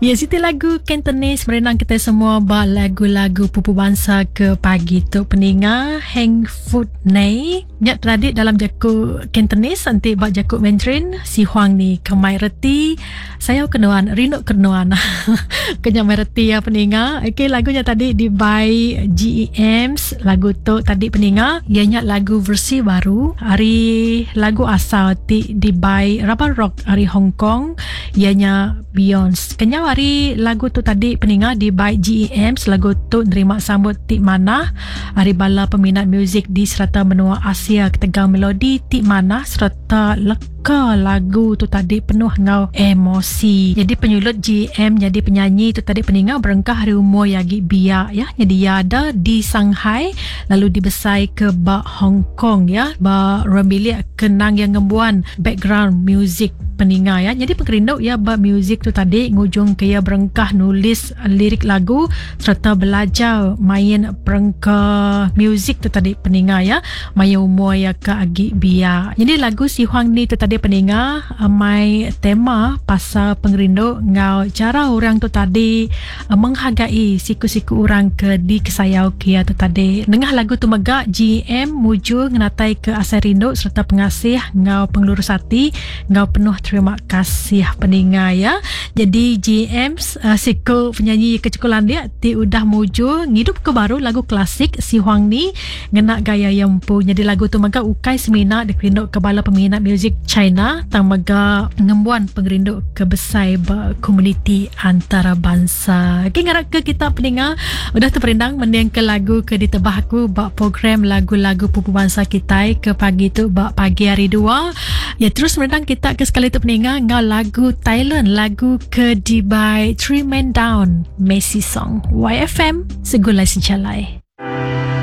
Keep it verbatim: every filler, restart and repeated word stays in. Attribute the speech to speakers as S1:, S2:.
S1: Ya, siti lagu Cantonese merenang kita semua ba lagu-lagu pupu bansa ke pagi tu peninga Heng Food Nei. Nya tadi dalam jaku Cantonese enti ba jaku Mandarin si Huang ni kemai reti sayau kenuan rindu kenuan. Kenya mai reti ya peninga. Okey lagunya tadi di by G E Ms lagu tu tadi peninga ianya lagu versi baru hari lagu asal ti di by Rubber Rock hari Hong Kong ianya Beyonce. Kenya hari lagu tu tadi peninga di by G E M lagu tu nerima sambut ti mana hari bala peminat muzik di serata menua Asia ketegal melodi ti mana serta leka lagu tu tadi penuh ngau emosi. Jadi penyulut G M jadi penyanyi tu tadi peninga berengkah hari umur yagi biak ya. Jadi ia ada di Shanghai lalu dibesai ke ba Hong Kong ya. Ba rembilik kenang yang ngembuan background music peninga ya. Jadi pengerindu ya ba music tu tadi ngujung ke ia berengkah nulis lirik lagu serta belajar main perengka music tu tadi peninga ya. Maya umur ya ke agi biak. Jadi lagu Si Huang ni tu tadi peninga mai tema pasal pengerindu ngau cara orang tu tadi menghargai siku-siku orang ke di kesayau kia tu tadi. Nengah lagu tu mega G M muju ngenatai ke asai rindu serta pengasih ngau pengelurus hati ngau penuh terima kasih peninga ya. Jadi G M uh, siku penyanyi kecekulan dia ti udah muju ngidup ke baru lagu klasik Si Huang ni ngena gaya yang empu. Jadi lagu tu mega ukai semina dikerindu ke bala peminat muzik China tang mega ngembuan pengerindu ke besai ba komuniti antarabangsa. Okey ngarap ke kita peninga udah terperindang mending ke lagu ke ditebah aku ba program lagu-lagu pupu bangsa kita ke pagi tu ba pagi hari dua. Ya terus merendang kita ke sekali tu peninga ngau lagu Thailand lagu ke di by Three Man Down Messi Song Y F M segulai sejalai.